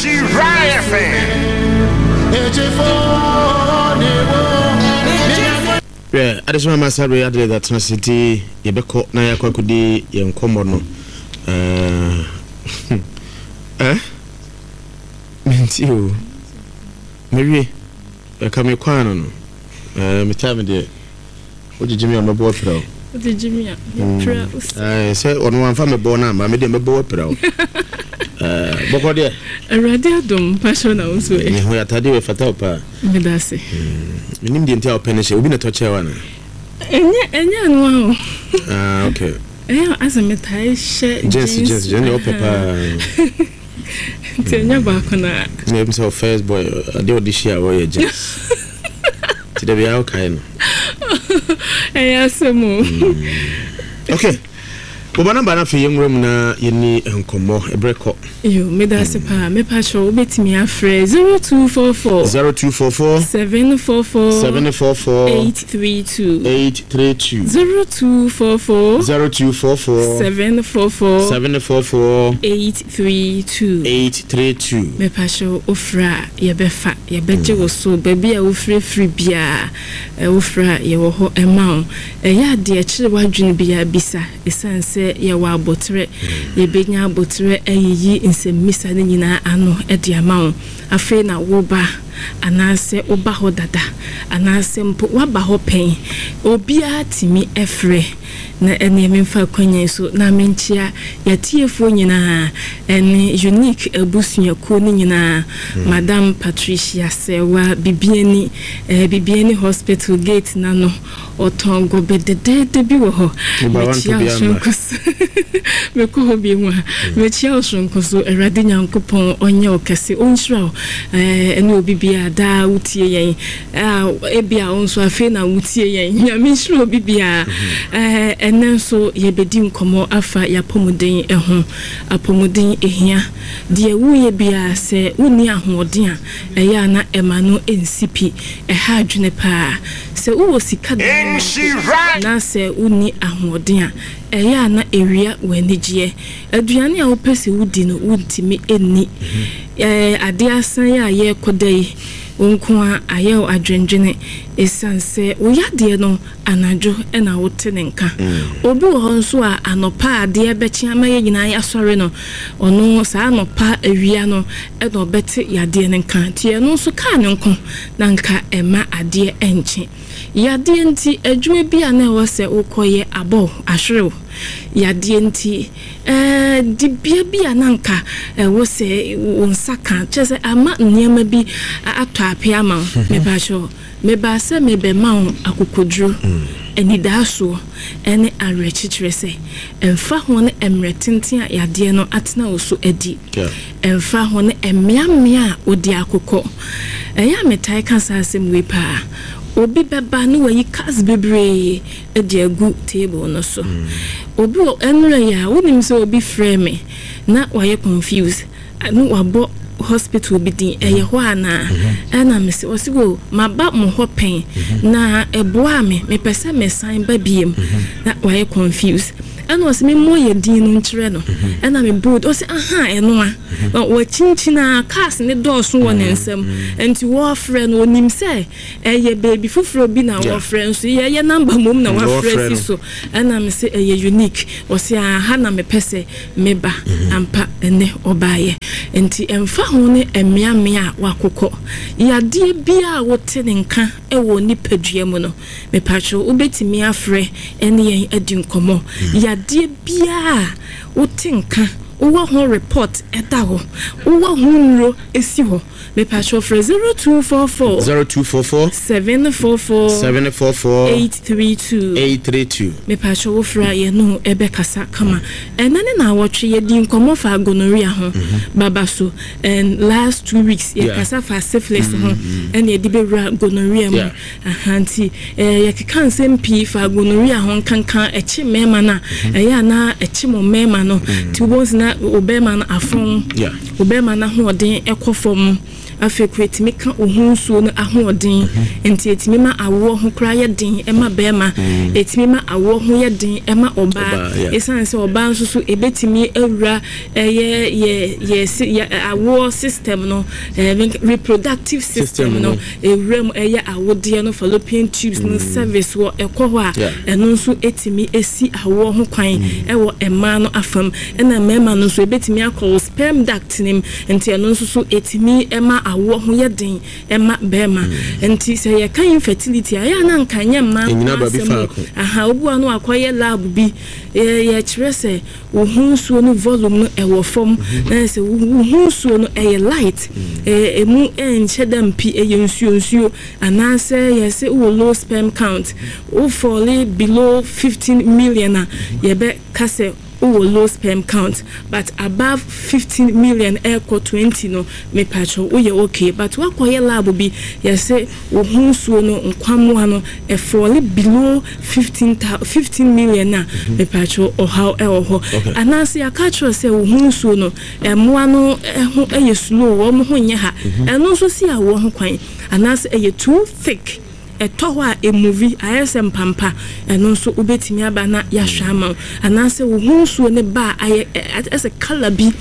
Nhyira FM. Hwɛ, adesoma ma saa bere Adelaide atena ase nti yɛbɛkɔ na yɛakɔ akɔdi yɛn nkɔmmɔ no. Eh, menti o. Mewie. Ɛka me kwan no no. Eh, me time deɛ. Wogyegye me a mɛbɔ apira o. Wogyegye me a mɛpira o. Ɛɛ sɛ ɔno wamfa me bɔ no amma me deɛ mɛbɔ apira o. Ɛɛ bɔkɔ deɛ. Awurade adom mpakyɛw na wo nso ɛ. Me ho yɛ ataadeɛ wei fata wo paa. Meda ase. Menim deɛ nti a wopɛ no hyɛ obi na ɛtɔ kyɛɛ wo anaa? Ɛnyɛ ɛnyɛ ɛno ara o. Ah okay. Ɛyɛ asɛ metae hyɛ jeans. Jeans jeans jeans deɛ wopɛ paa. Nti ɛnyɛ baako na. Na ebi sɛ first boy adeɛ ɔde hyia a ɔyɛ jeans. Nti da biara wokae no. Ɛyɛ asɛm o. Okay. Bɔbɔ namba no afei yɛnwura mu na yɛni nkɔmmɔ ɛberɛ kɔ. Yo, meda ase paa. Mepa kyɛw wobɛtumi afrɛ 0244 0244 744 744 832 832 0244 0244 744 744 832 832. Mepa kyɛw wofrɛ a yɛbɛfa, yɛbɛgye wo so baabi a wofirifiri biara wofrɛ a yɛwɔ hɔ ma wo. Ɛyɛ a deɛ ɛkyere w'adwene biara bisa. Esiane sɛ yɛwɔ aboterɛ, yɛbɛnya aboterɛ ayiyi nsɛmmisa no nyinaa ano de ama wo. Afei na woreba, anaasɛ woba hɔ dada, anaasɛ mpo woaba hɔ pɛn, obiara tumi frɛ. Na ɛnneɛ memfa akwanya yi so na menkyea yɛatiefoɔ nyinaa ɛne Unique abusuakuo no nyinaa, Madam Patricia Serwaa Bibiani, Bibiani Hospital gate no ano. Ɔtɔn gɔbɛ dɛdɛɛdɛ bi wɔ hɔ. Mekyia wo soronko so. Mekɔ hɔ bi mu a. Mekyia wo soronko so. Awurade Nyankopɔn ɔnyɛ wo kɛse. Ɔnhyira wo. Ɛne obi biara daa wotie yɛn. Ebia wo nso afei na wotie yɛn. Nyame nhyira obi biara. Ɛnɛ nso yɛbɛdi nkɔmmɔ afa yɛapɔmuden ho. Apɔmuden ehia. Deɛ woyɛ biara sɛ wonni ahoɔden a, ɛyɛ a na ɛma no nsi pi. Ɛha adwene paa. Sɛ wowɔ sika daa mpo na sɛ wonni ahoɔden a, ɛyɛ a na ɛwia w'anigyeɛ. Aduane a wopɛ sɛ wodi no, wontumi nni. Adeɛ asa yi a yɛrekɔda yi, wo nko ara ayɛ wo adwendwene ɛsiane sɛ wo yadeɛ no, anadwo na wote ne nka. Obi wɔ hɔ nso a, anɔpa a adeɛ rebɛkye ama yɛn nyinaa yɛasɔre no, ɔno saa anɔpa awia no na ɔbɛte yadeɛ no nka. Nti ɛno nso kaa ne nko na anka ɛmma adeɛ nkye. Yadeɛ nti, adwuma bi a na ɛwɔ sɛ wokɔyɛ abɔ wo, ahwere wo. Yadeɛ nti, ɛɛ dibea bi a na anka ɛwɔ sɛ wo nsa ka, kyerɛ sɛ ama nneɛma bi atɔ ape ama wo. Mepakyɛw, mebaa sɛ merebɛma wo akokoduro, anidaasoɔ, ne awerɛkyekyerɛ sɛ, ɛmfa ho ne mmerɛ tenten a yadeɛ no atena wo so adi, ɛmfa ho ne mmeammea a wode akokɔ. Ɛyɛ a metaa ka saa asɛm wei paa. Obi bɛba na wayi cards bebree de agu table no so. Obi wɔ ɛnora yi a, wonim sɛ obi frɛɛ me na wayɛ confused na wabɔ hospital bi din, ɛyɛ hɔ anaa? Ɛna mese, ɔse o, maba mo hɔ pɛn na ɛboaa me, mepɛ sɛ mesan ba biem. Na wayɛ confused. Ɛna ɔse memmɔ yɛ din no nkyerɛ no. Ɛna mebɔɔ din, ɔse ahaa ɛno a. Na wakyinkyin ara, cars no dɔɔso wɔ ne nsam. Nti wɔɔfrɛ no, ɔnim sɛ ɛyɛ baabi foforɔ bi na wɔɔfrɛ nso yɛyɛ number mmom na wafrɛ si so. Ɛna mese ɛyɛ unique. Ɔse aha na mepɛ sɛ meba. Ampa ɛnnɛ ɔbaeɛ. Nti ɛmfa ho ne mmeammea a wakokɔ, yadeɛ biara a wote ne nka wɔ nipadua mu no, Mepakyɛw, wobɛtumi afrɛ ne yɛn adi nkɔmmɔ. Yadeɛ biara a wote nka, wowɔ ho report da hɔ, wowɔ ho nnuro si hɔ, mepakyɛw frɛ 0244 0244 744 744 832. 832. Mepakyɛw wofrɛ a yɛne wo bɛkasa kama. Ɛnnɛ ne naawɔtwe yɛdii nkɔmmɔ faa gonorrhea ho, baba so, and last 2 weeks yɛkasa faa syphilis ho ɛna yɛde bɛwura gonorrhea mu. Aha nti yɛkeka nsɛm pii fa gonorrhea ho nkanka ɛkye mmarima no a, ɛyɛ a na ɛkye mo mmarima no. Nti wobɛhu sɛ na. na wo bɛrima no afɔn, wo bɛrima no ahoɔden kɔ fam. Afei koraa ɛtumi ka wo ho nsuo no ahoɔden, nti ɛtumi ma awoɔ ho koraa yɛ den ma bɛrima, ɛtumi ma awoɔ ho yɛ den ma ɔbaa. Ɛsiane sɛ ɔbaa nso so ɛbɛtumi awura ɛyɛ yɛ yɛ yɛ awoɔ system no, reproductive system no, ɛwura mu ɛyɛ awodeɛ no, fallopian tubes no, cervix wɔ ɛkɔ hɔ a, ɛno nso ɛtumi ɛsi awoɔ ho kwan ɛwɔ mmaa no afam. Ɛna mmarima no nso ɛbɛtumi akɔ wo sperm duct no mu. Nti ɛno nso so ɛtumi ma awoɔ ho yɛ den ma barima. Nti sɛ yɛka infertility a, ɛyɛ a na anka ɛnyɛ mmaa nko ara asɛm o. Aha, obi wɔ hɔ a na wakɔyɛ lab bi, yɛkyerɛ sɛ wo ho nsuo no volume no ɛwɔ fam, na ayɛ sɛ wo ho nsuo no ɛyɛ light, ɛmu ɛnhyɛ da mpi, ɛyɛ nsuo nsuo, anaasɛ yɛse wowɔ low sperm count, wo fall below 15 million a, yɛbɛka sɛ wowɔ low sperm count but above 15 million ɛkɔ 20 no mepakyɛw woyɛ okay but woakɔyɛ lab bi yɛse wo ho nsuo no nkwammoa no ɛfɔle below 15 thou 15 million a mepakyɛw ɔhaw ɛwɔ hɔ anaase yɛaka akyerɛ wo sɛ wo ho nsuo no mmoa no ho ɛyɛ slow wɔn ho nyɛ ha ɛno nso si awoɔ ho kwan anaase ɛyɛ too thick. Ɛtɔ hɔ a emuvi, ayɛ sɛ mpampa, ɛno nso wobɛtumi aba na yɛahwɛ ama wo. Anaasɛ wo ho nsuo no ba a ayɛ sɛ colour bi,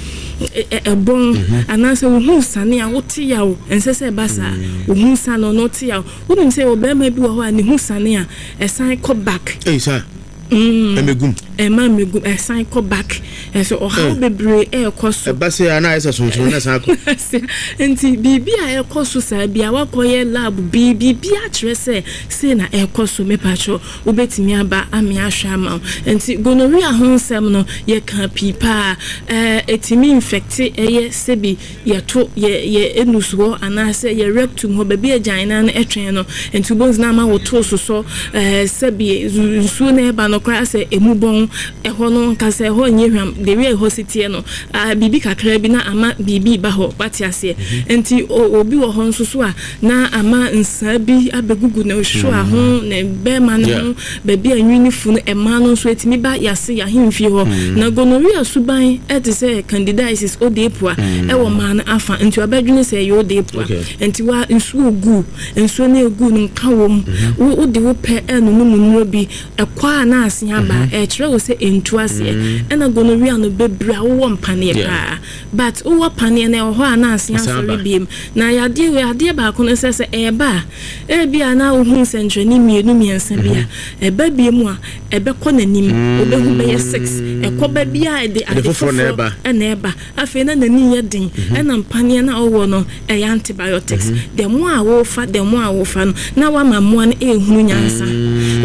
ɛbɔn, anaasɛ wo ho sane a wote yaw, ɛnsɛ sɛ ɛba saa. Wo ho sane no, wote yaw. Wonim sɛ yɛwɔ barima bi wɔ hɔ a ne ho sane a, ɛsan kɔ back. Ei saa? Ɛmɛgum. Ɛma mmɛgum, ɛsan kɔ back. Ɛsɛ ɔhaw bebree ɛrekɔ so. Ɛba sɛ a na ayɛ sɛ sonsono na ɛsan kɔ. Nti biribi a ɛrekɔ so saa bi a wakɔyɛ lab bi, biribi akyerɛ sɛ sei na ɛrekɔ so, mepakyɛw wobɛtumi aba ame ahwɛ ama wo. Nti gonorrhea ho nsɛm no yɛka pii paa. Ɛɛ ɛtumi infecte ɛyɛ sɛbi yɛto yɛ yɛ anus hɔ anaasɛ yɛ rectum hɔ, baabi a agyanan no twɛn no, nti wobɛhu sɛ na ama wo to sosɔ, ɛɛ sɛbi nsuo no ɛreba no koraa sɛ ɛmu bɔn, ɛhɔ no nka sɛ ɛhɔ nyɛ hwam, the way ɛhɔ si teɛ no, ah, biribi kakra bi na ama biribi reba hɔ, wate aseɛ. Nti obi wɔ hɔ nso so a, na ama nsaa bi abɛgugu ne hwewa ho, ne bɛrima no ho, Baabi a nwi no fu no, mmaa no nso, etumi ba yɛn ase, yɛn ahemfie hɔ. Na gonorrhea suban te sɛ candidiasis, odeepua, wɔ mmaa no afa. Nti wɔbɛdwene sɛ ɛyɛ odeepua. Nti wa nsuo gu, nsuo no egu no nka wɔ mu. Wo wode wo pɛ renonom nnuro bi, ɛkɔ a na ase aba. Ɛkyerɛ wo sɛ ɛntu aseɛ. Ɛna gonorrhea no, bebree a wowɔ mpaneɛ paa. But wowɔ paneɛ no ɛwɔ hɔ a na asen asɔre biem. Na yadeɛ wei adeɛ baako ne sɛ sɛ ɛɛba a ebia na wohu nsɛnkyerɛnne mmienu mmiɛnsa bi a ɛba biem a ɛbɛkɔ n'anim wobɛhu bɛyɛ six ɛkɔ ba bi a ɛde ade foforɔ na ɛba afei na n'ani yɛ den ɛna mpaneɛ no a wowɔ no ɛyɛ antibiotics the more a wofa the more a wofa no na wama mmoa no ɛrehunu nyansa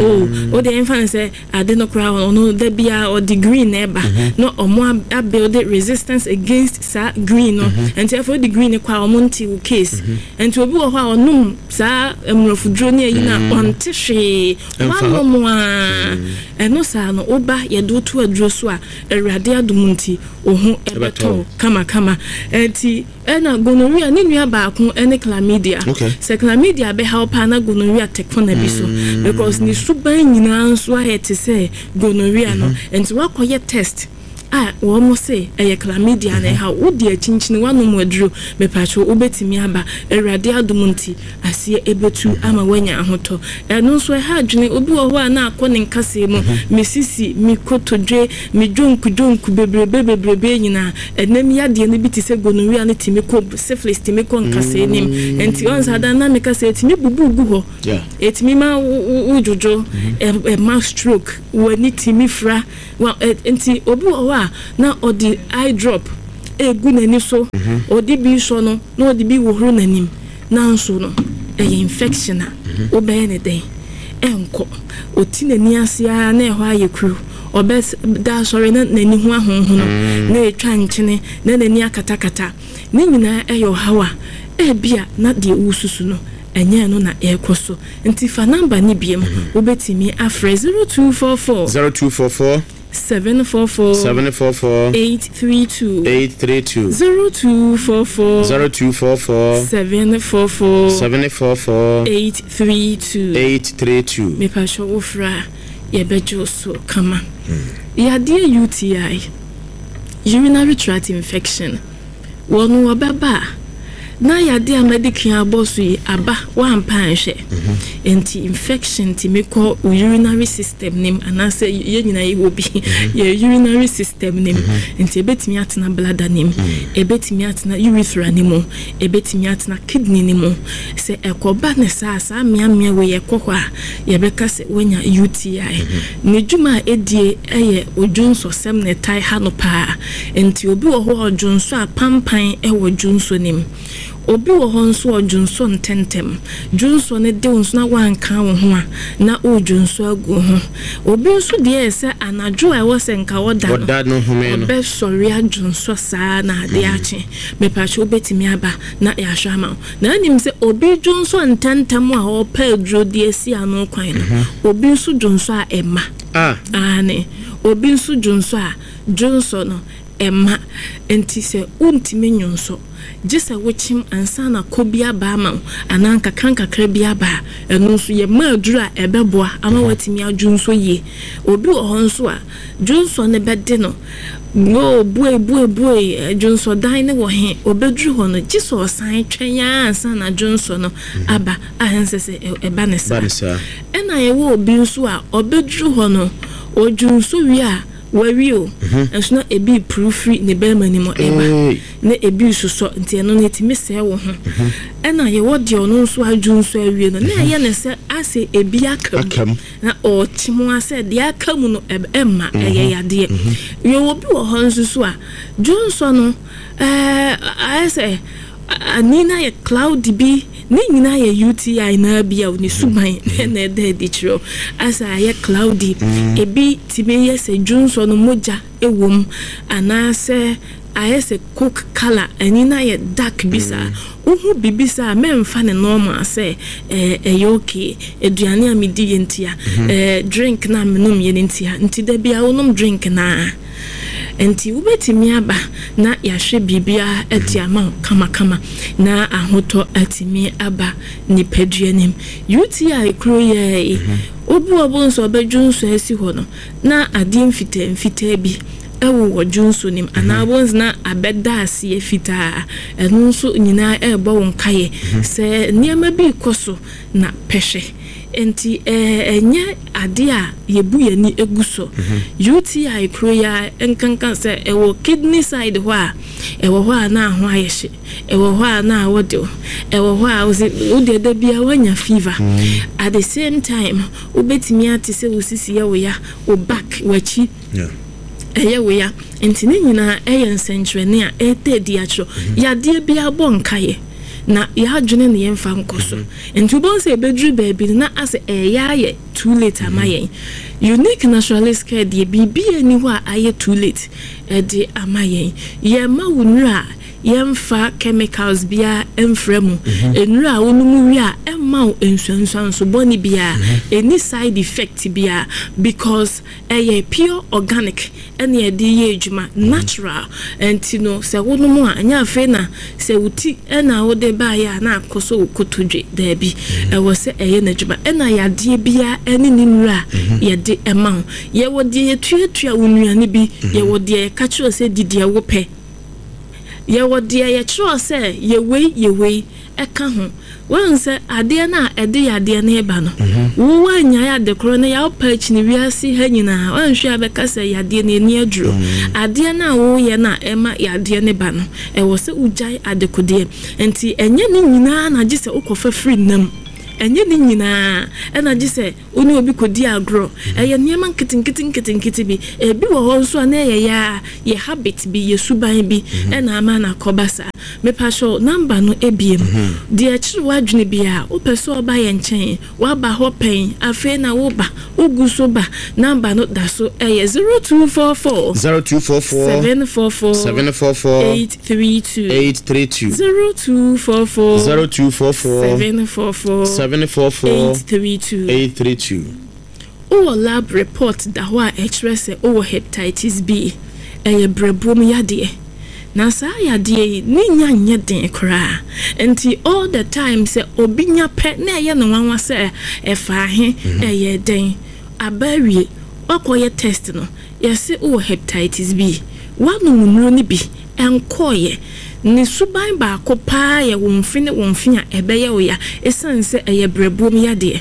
oh wodeɛ yɛmfa no sɛ Ade no koraa ɔno da biara ɔde green na ɛba na ɔmo a build resistance against saa green no nti afei ɔde green no kɔ a ɔmo nte wo case nti obi wɔ hɔ a ɔnom saa mmorɔfoduro ne ayi no a ɔnte hwee wanom a ɛno saa no woba yɛde wo to aduro so a Awurade adom nti wo ho ɛbɛtɔ wo kamakama nti Ɛna gonorrhea ne nua baako ne chlamydia. Sɛ chlamydia bɛhaw paa na gonorrhea te kɔna bi so because ne suban nyinaa nso ayɛ te sɛ gonorrhea no. Nti woakɔyɛ test a wɔn se ɛyɛ chlamydia na ɛhaw wo deɛ kyinkyini woanom aduro mepatwo wobɛtumi aba Awurade adom nti aseɛ ɛbɛtu ama woanya ahotɔ. Ɛno nso ɛha adwene obi wɔ hɔ a na akɔ ne nkasɛɛ mu me sisi me kotodwe Me dwonku dwonku bebrebe bebrebe nyinaa, ɛnam yadeɛ no bi te sɛ gonorrhea no tumi kɔ, syphilis tumi kɔ nkasɛɛ no mu. Nti ɔn saa da no na meka sɛ ɛtumi bubu gu hɔ, ɛtumi ma wo dwodwo, ɛma stroke, w'ani tumi fira. Nti obi wɔ hɔ a na ɔde eye drop ɛgu n'ani so, ɔde bi sɔ no na ɔde bi hohoro n'anim. Nanso no, ɛyɛ infection a wobɛyɛ no dɛn? Ɛnkɔ. Ɔti n'ani ase ara na ɛhɔ ayɛ kuru. Ɔbɛda asɔre na n'ani ho ahonhono, na ɛtwa nkyene, na n'ani akatakata. Ne nyinaa yɛ ɔhaw a ebia na deɛ woresusu no, ɛnyɛ ɛno na ɛrekɔ so. Nti fa number no biom. Wobɛtumi afrɛ 0244. 0244. 744. 744. 832. 832. 0244. 0244. 744. 744. 832. 832. Mepakyɛ wo frɛ a yɛbɛgye wo so kama. Yadeɛ UTI. Urinary tract infection, Wɔ no wɔbɛba a, na yadeɛ a madi kan abɔ so yi aba, woampa anhwɛ. Nti infection tumi kɔ wo urinary system no mu anaasɛ yɛn nyinaa yɛwɔ bi, yɛ urinary system no mu. Nti ɛbɛtumi atena bladder no mu, ɛbɛtumi atena urethra no mu, ɛbɛtumi atena kidney no mu. Sɛ ɛkɔba no saa a, saa mmeammea wei ɛkɔ hɔ a, yɛbɛka sɛ woanya UTI. Ne dwuma a ɛdie yɛ odwonsɔsɛm na ɛtae ha no paa. Nti obi wɔ hɔ a ɔdwonsɔ a pampan wɔ dwonsɔ no mu. Obi wɔ hɔ nso a ɔdwonsɔ ntɛntɛm. Dwonsɔ no de wo nso na woanka wo ho a, na woredwonsɔ agu wo ho. Obi nso deɛ yɛ sɛ anadwo a ɛwɔ sɛ nka ɔda no, ɔbɛsɔre adwonsɔ saa na adeɛ akye. Mepakyɛ wobɛtumi aba na yɛahwɛ ama wo. Na wonim sɛ obi dwonsɔ ntɛntɛm a ɔrepɛ aduro de asi ano kwan no, obi nso dwonsɔ a ɛmma. Aane, obi nso dwonsɔ a, dwonsɔ no ɛmma. Enti sɛ wontumi nnwonsɔ, gye sɛ wokyem ansa na kɔ bi aba ama wo anaa nkakrankakra bi aba a, ɛno nso yɛma aduro a ɛbɛboa ama woatumi adwonsɔ yie. Obi wɔ hɔ nso a, dwonsɔ no bɛde no. Oo, buei, buei, buei, dwonsɔdan no wɔ he? Obeduru hɔ no, gye sɛ ɔsan twɛn ara ansa na dwonsɔ no aba, a ɛnsɛ sɛ ɛba no saa. Ɛnna yɛwɔ obi nso a, ɔbeduru hɔ no, ɔdwonsɔ wie a, wawie o, nso na ebi repuru firi ne barima no mu reba, na ebi resosɔ, nti ɛno no, etumi sɛe wo ho. Ɛnna yɛwɔ deɛ ɔno nso adwonsɔ awie no, na ɛyɛ no sɛ asɛ ebi aka mu. Na ɔɔkye ho ara sɛ deɛ aka mu no ɛmma ɛyɛ yadeɛ. Yɛwɔ bi wɔ hɔ nso so a, dwonsɔ no ɛɛ ayɛ sɛ ani no ayɛ cloudy bi, ne nyinaa yɛ UTI no ara bi a ne suban na ɛda adi kyerɛ wo. Ayɛ sɛ ayɛ cloudy, ebi tumi yɛ sɛ dwonsɔ no mogya wɔ mu anaasɛ ayɛ sɛ coke colour, ani no ayɛ dark bi saa. Wohu biribi saa a, mɛmfa no normal sɛ ɛyɛ okay, aduane a mediiɛ ntia, drink no a menomyɛ no ntia, nti da biara wonom drink no ara. Nti wobɛtumi aba na yɛahwɛ biribiara de ama wo kamakama na ahotɔ atumi aba nipadua no mu. UTI kuro yi ara yi, wobu ɔbo nso a ɔbɛdwo nso asi hɔ no, na adeɛ mfitaa mfitaa bi wowɔ dwonsɔ no mu anaa wobɛhu sɛ na abɛda aseɛ fitaa. Ɛno nso nyinaa ɛrebɔ wo nkaeɛ sɛ nneɛma bi rekɔ so na pɛ hwɛ. Nti ɛnyɛ adeɛ a yɛbu yɛn ani gu so. UTI kuro yi ara nkanka sɛ ɛwɔ kidney side hɔ a, ɛwɔ hɔ a na ho ayɛ hye, ɛwɔ hɔ a na awɔ de wo, ɛwɔ hɔ a wose wo deɛ da biara woanya fever. At the same time wobɛtumi ate sɛ wo sisi yɛ wo ya, wo back, w'akyi ɛyɛ wo ya. Nti ne nyinaa ɛyɛ nsɛnkyerɛnne a ɛreda adi akyerɛ wo. Yadeɛ biara bɔ nkaeɛ na yɛadwene ne yɛmfa nkɔ so. Nti wobɛhu sɛ ɛbɛduru baabi no na asɛ ɛreyɛ ayɛ too late ama yɛn. Unique Naturalist Care deɛ biribiara nni hɔ a ayɛ too late de ama yɛn. Yɛmma wo nnuro a Yɛmfa chemicals biara mfra mu. Nnuru a wonom wie a, ɛmma wo nsuansuanso bɔne biara, ɛnni side effect biara because ɛyɛ pure organic ɛna yɛde yɛ adwuma, natural. Nti no sɛ wonom a, ɛnyɛ afei na sɛ wo ti na wode baeɛ a na akɔsɔ wo kotodwe, daabi. Ɛwɔ sɛ ɛyɛ n'adwuma. Ɛna yadeɛ biara ɛne ne nnuru a yɛde ma wo. Yɛwɔ deɛ yɛtuatua wo nnuane bi, yɛwɔ deɛ yɛka kyerɛ wo sɛ di deɛ wopɛ. Yɛwɔ deɛ yɛkyerɛw sɛ yɛ wei, yɛ wei ka ho. Woahu sɛ adeɛ no a ɛde yadeɛ no reba no, wo woannyae ade korɔ no yɛ a wopɛ akyini wiase ha nyinaa, woanhwɛ a bɛka sɛ yadeɛ no ɛnni aduro. Adeɛ no a woyɛ no a ɛma yadeɛ no ba no, ɛwɔ sɛ wogyae adekodeɛ. Nti ɛnyɛ ne nyinaa na gye sɛ wokɔfa firi nam. Ɛnyɛ ne nyinaa na gye sɛ Wo ne obi kɔdi agorɔ. Ɛyɛ nneɛma nketenkete nketenkete bi. Ebi wɔ hɔ nso a na ɛyɛ yɛ ara yɛ habit bi, yɛ suban bi na ama no akɔba saa. Mepakyɛw, number no abiem. Deɛ ɛkyere w'adwene biara, wopɛ sɛ ɔba yɛn nkyɛn, woaba hɔ pɛn, afei na woba, wogu so ba, number no da so yɛ 0244 0244 744 744 832. 832 0244 0244 744 744 832. 832. Wowɔ lab report da hɔ a ɛkyerɛ sɛ wowɔ hepatitis B. Ɛyɛ berɛboɔ mu yadeɛ. Na saa yadeɛ yi, ne nya nyɛ den koraa. Nti all the time sɛ obi nya pɛ na ɛyɛ no nwanwa sɛ ɛfaa he, ɛyɛɛ dɛn. Aba awie, woakɔyɛ test no, yɛse wowɔ heptitis B. Woanom nnuro no bi, ɛnkɔeɛ. Ne suban baako pa ara yɛ wo mfe ne wo mfe a ɛbɛyɛ wo ya ɛsiane sɛ ɛyɛ berɛboɔ mu yadeɛ.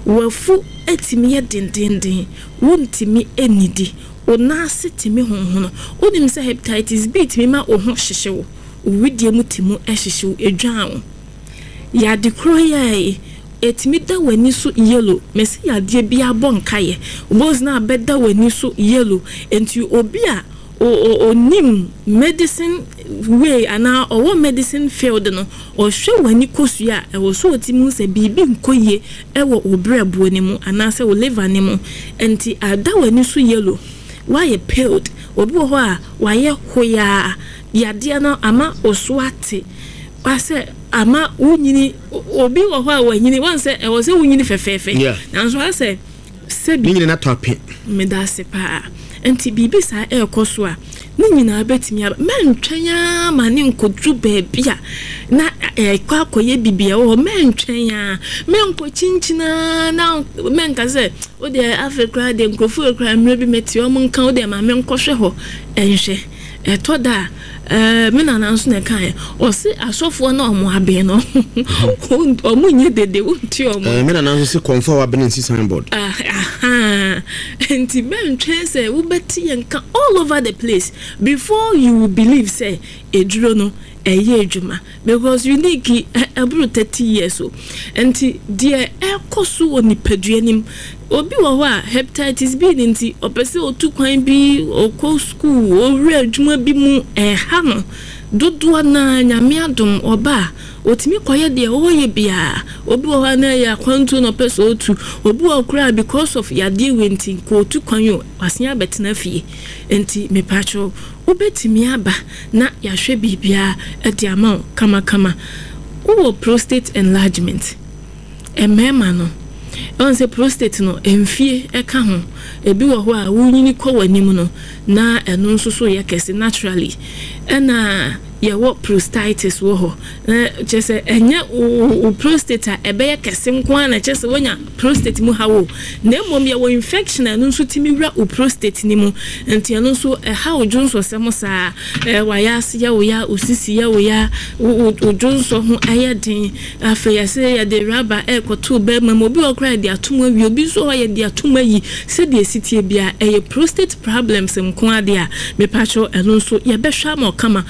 W'afu tumi yɛ dendeenden, wontumi nnidi, wo nan ase tumi honhono. Wonim sɛ hepatitis B tumi ma wo ho hyehye wo, wo wedeɛ mu tumi hyehye wo, ɛdwan wo. Yade korɔ yi ara yi, ɛtumi da w'ani so yellow. Mese yadeɛ biara bɔ nkaeɛ. Wobɛhu sɛ na abɛda w'ani so yellow. Nti obi a ɔnim medicine way anaa ɔwɔ medicine field no, ɔhwɛ w'ani kosua a, ɛwɔ sɛ ɔtumi hu sɛ biribi nkɔ yie wɔ wo berɛboɔ no mu anaasɛ wo liver no mu. Nti ada w'ani so yellow, woayɛ paled. Obi wɔ hɔ a, wayɛ hoyaa. Yadeɛ no ama wo so ate. Asɛ ama wonyini, obi wɔ hɔ a wanyini, wɔn sɛ ɛwɔ sɛ wonyini fɛfɛɛfɛ. Nanso asɛ sɛbi. Ne nyina tɔ ape. Meda ase paa. Nti biribi saa ɛrekɔ so a, ne nyinaa bɛtumi aba. Mɛntwɛn ara ma ne nkɔduru baabi a na ɛrekɔ akɔyɛ biribi a ɛwɔ hɔ. Mɛntwɛn ara, mɛnkɔ kyinkyin ara na mɛnka sɛ wo deɛ afei koraa deɛ nkurɔfoɔ koraa mmerɛ bi mete wɔn nka wo deɛ ma menkɔhwɛ hɔ nhwɛ. Ɛtɔ da a, ɛɛ, me nana nso na ɛkaeɛ. Ɔse asɔfoɔ no a wɔn aben no, wɔn nyɛ dede, wonte wɔn. Ɛɛ, me nana nso se kɔmfo a wabene nsi signboard. Ahaa, nti mɛntwɛn sɛ wobɛte yɛn nka all over the place before you will believe sɛ aduro no ɛyɛ adwuma. Because unique ɛboro 30 years o. Nti deɛ ɛkɔ so wɔ nipadua no mu, obi wɔ hɔ a hepatitis B no nti ɔpɛ sɛ ɔtu kwan bi, ɔkɔ school, ɔwura adwuma bi mu, ɛha no. Dodoɔ no ara Nyame adom ɔba a, ɔtumi kɔyɛ deɛ ɔyɛ biara. Obi wɔ hɔ a na ɛyɛ akwantuo na ɔpɛ sɛ ɔtu. Obi wɔ hɔ koraa a because of yadeɛ wei nti nka ɔtu kwan o, wasan abɛtena fie. Nti mepakyɛw wobɛtumi aba na yɛahwɛ biribiara de ama wo kamakama. Wowɔ prostate enlargement? Mmarima no, ɛwɔ sɛ prostate no mfie ka ho. Ebi wɔ hɔ a wonyini kɔ w'anim no na ɛno nso so yɛ kɛse naturally. Ɛna yɛwɔ prostatitis wɔ hɔ. Na kyerɛ sɛ ɛnyɛ wo prostate a ɛbɛyɛ kɛse nko ara na kyerɛ sɛ woanya prostate mu haw o, na mmom yɛwɔ infection a ɛno nso tumi wura wo prostate no mu, nti ɛno nso ɛha wo dwonsɔsɛm saa, w'ayaase yɛ wo ya, wo sisi yɛ wo ya, wo dwonsɔ ho yɛ den, afei yɛse yɛde rubber ɛrekɔto wo bɛrima mu, obi wɔ hɔ koraa yɛde ato mu awie, obi nso wɔ hɔ a yɛde ato mu ayi, sɛdeɛ ɛsi teɛ biara ɛyɛ prostate problems nko ara deɛ a, mepakyɛw ɛno nso yɛbɛhwɛ ama wo kama.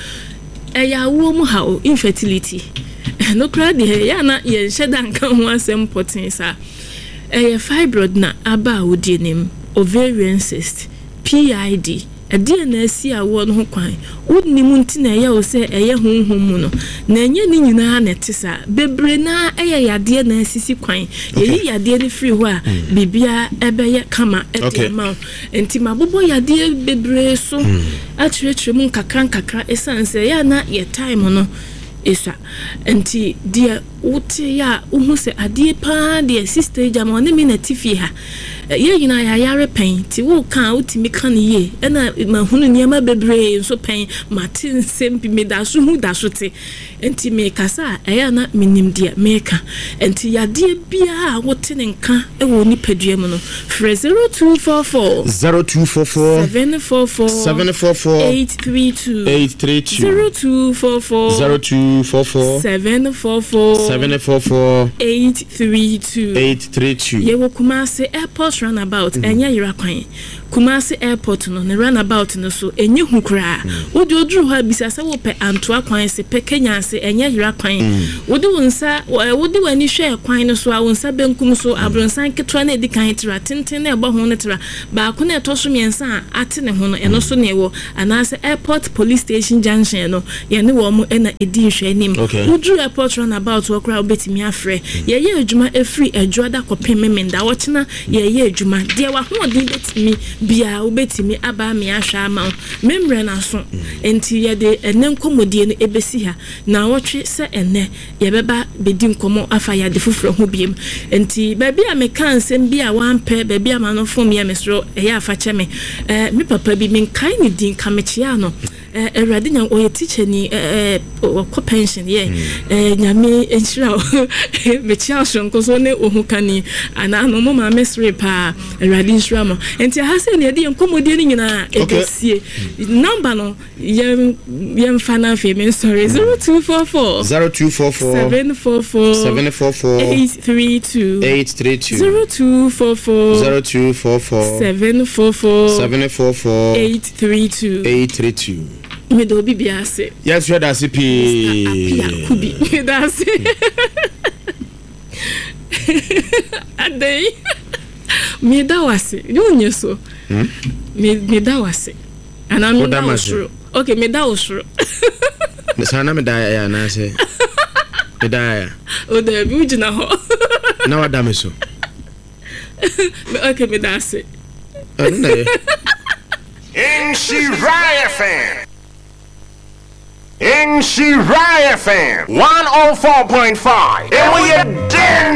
Ɛyɛ awoɔ mu haw, infertility. Ɛno koraa deɛ ɛyɛ a na yɛnhyɛ da nka ho asɛm pɔtee saa. Ɛyɛ fibroid na aba awodie no mu, ovarian cyst, PID. Ɛdeɛn na asi awoɔ no ho kwan? Wonnim nti na ɛyɛ wo sɛ ɛyɛ honhom mu no. Na ɛnyɛ ne nyinaa na ɛte saa. Bebree no ara ɛyɛ yadeɛ na asisi kwan. Yɛyi yadeɛ no firi hɔ a, biribiara ɛbɛyɛ kama de ama wo. Enti mabobɔ yadeɛ bebree so akyerɛkyerɛ mu nkakra nkakra ɛsiane sɛ ɛyɛ a na yɛ time no sua. Nti deɛ wote yɛ a wohu sɛ adeɛ paa deɛ sister yi gyama ɔne me na ɛte fie ha. Yɛn nyinaa yɛayare pɛn nti woka a wotumi ka no yie. Ɛna mahunu nneɛma bebree nso pɛn, mate nsɛm bi, meda so hu da so te. Enti merekasa a, ɛyɛ a na menim deɛ mereka. Enti yadeɛ biara a wote ne nka wɔ wo nipadua mu no, frɛ 0244. 0244. 744. 744. 832. 832. 0244. 0244. 744. 744. 832. 832. Yɛwɔ Kumasi Airport Runabout, ɛnyɛ yera kwan. Kumasi airport no ne runabout no so ɛnyɛ hu koraa. Wode oduru hɔ a bisa sɛ wopɛ Antoa kwan se pɛ Kenya ase ɛnyɛ yera kwan. Wode wo nsa wode w'ani hwɛ kwan no so a wo nsa benkum so abronsan ketewa no a ɛdi kan tra tenten no a ɛbɔ ho no tra baako no a ɛtɔ so mmiɛnsa a ate ne ho no ɛno so na ɛwɔ anaasɛ airport police station junction no yɛne wɔn na ɛdi nhwɛanim. Woduru airport runabout hɔ koraa a wobɛtumi afrɛ. Yɛyɛ adwuma ɛfiri Adwoada kɔpem Memenda ɔkyena Yɛreyɛ adwuma. Deɛ w'ahoɔden bɛtumi biara, wobɛtumi aba ame ahwɛ ama wo. Me mmerɛ no aso, enti yɛde ɛnnɛ nkɔmmɔdie no bɛsi ha. Nnawɔtwe sɛ ɛnnɛ, yɛbɛba bɛdi nkɔmmɔ afa yade foforɔ ho biom. Enti baabi a mekaa nsɛm bi a woampɛ, baabi a m'ano fomyɛ, mesrɛ wo, ɛyɛ a fa kyɛ me. Me papa bi, menkae ne din, ka mekyeaa no. Eh, Awurade nya ɔyɛ teacher ni eh, eh, ɔkɔ pension yɛ eh, Nyame nhyira wo. Mekyia wo soronko so ne wo ho kani anaa no mo maame sere paa. Awurade nhyira mo. Nti aha sɛ ne yɛde yɛn nkɔmmɔdie no nyinaa ɛbɛsie. Number no yɛn yɛmfa no afei mensɔre 0244 0244 744 744 832 832 0244 0244 744 744 832 832. Meda obi biara ase. Yɛnso yɛda ase pii. Mr. Apia Kubi. Meda ase. Adɛn? Meda wo ase. Ne wonyɛ so. Hmm? Meda wo ase. Anaa meda wo soro. Okay, meda wo soro. Saa na meda ya anaasɛ meda ya. O daabi, wogyina hɔ. Na wada me so. Okay, meda ase. Ɛno na yɛ. Nhyira FM. Nhyira FM 104.5. Emu yɛ den.